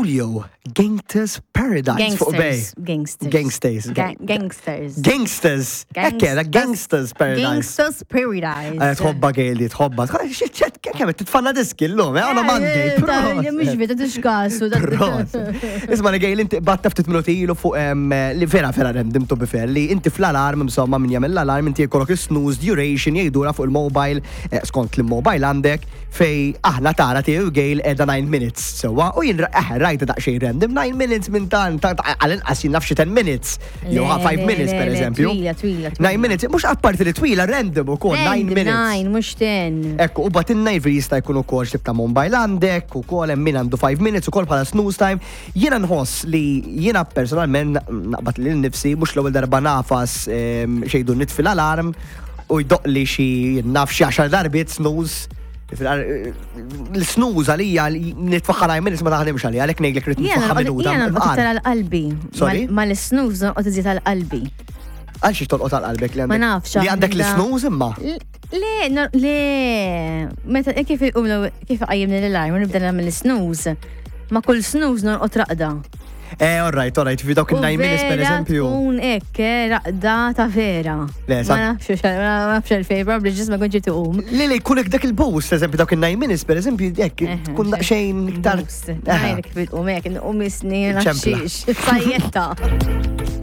Coolio, Gangsters Paradise fuq Bay. Gangsters. Gangsters. Gangsters. Gangsters. Ekk Gangsters Paradise. Gangsters Paradise. Eh, tħobba Gail tħobba. Xitxet, kemm titfanna diski l-lum, eh, għana Monday. Mux vita tixkasu. Isma li Gail, inti batta ftit minuti ilu fuq li vera vera random to be fair, li inti fl-alarm, insomma, min jagħmel l-alarm, inti jkollok snooze duration jgħidura fuq il-mobile, eh, skont l-mobile għandek, fej aħna tara tiegħu Gail edha 9 minutes sewwa u jien eh, rajta daqsxejn random 9 minutes minn tan għal-inqas jien naf xi 10 minutes jew 5 minutes per eżempju. Twila, twila. 9 minutes, mhux apparti li twila random ukoll 9 minutes. 9 mhux 10. Ekku, u batinna jifri jista' jkun ukoll x'tib ta' mobile għandek, ukoll hemm min għandu 5 minutes ukoll bħala snooze time. Jiena nħoss li jiena personalment naqbad lil nifsi mhux l-ewwel darba nafas ehm, xejdu nitfi l-alarm u jdoqli xi naf xi għaxar darbiet snooze. L-snooze għalija nitfaħħa nine minutes ma taħdimx għalija, għalhekk ngħidlek rrid nitfaħħa minuta. Jiena nqgħod tal-qalbi. Sorry? Ma l-snooze noqgħod iżjed tal-qalbi. Għal xiex tolqot għal qalbek li għandek? Ma nafx. Li għandek l-snooze imma? Le, le, meta eh, kif kif qajjimni l-alarm u nibda nagħmel l-snooze, ma kull snooze norqod raqda. Eh, all right, all right, fi dawk il-9 minutes per eżempju. Tkun hekk, eh, raqda ta' vera. Le, ma nafx, ma nafx għalfejn, probabbli ġis ma kontx tuqum. Le, le, jkun dak il-boost, eżempju, dawk il-9 minutes per eżempju, hekk, eh, tkun daqsxejn iktar. Ngħidlek kif tqum hekk, nqum isni, nafx. Sajjetta.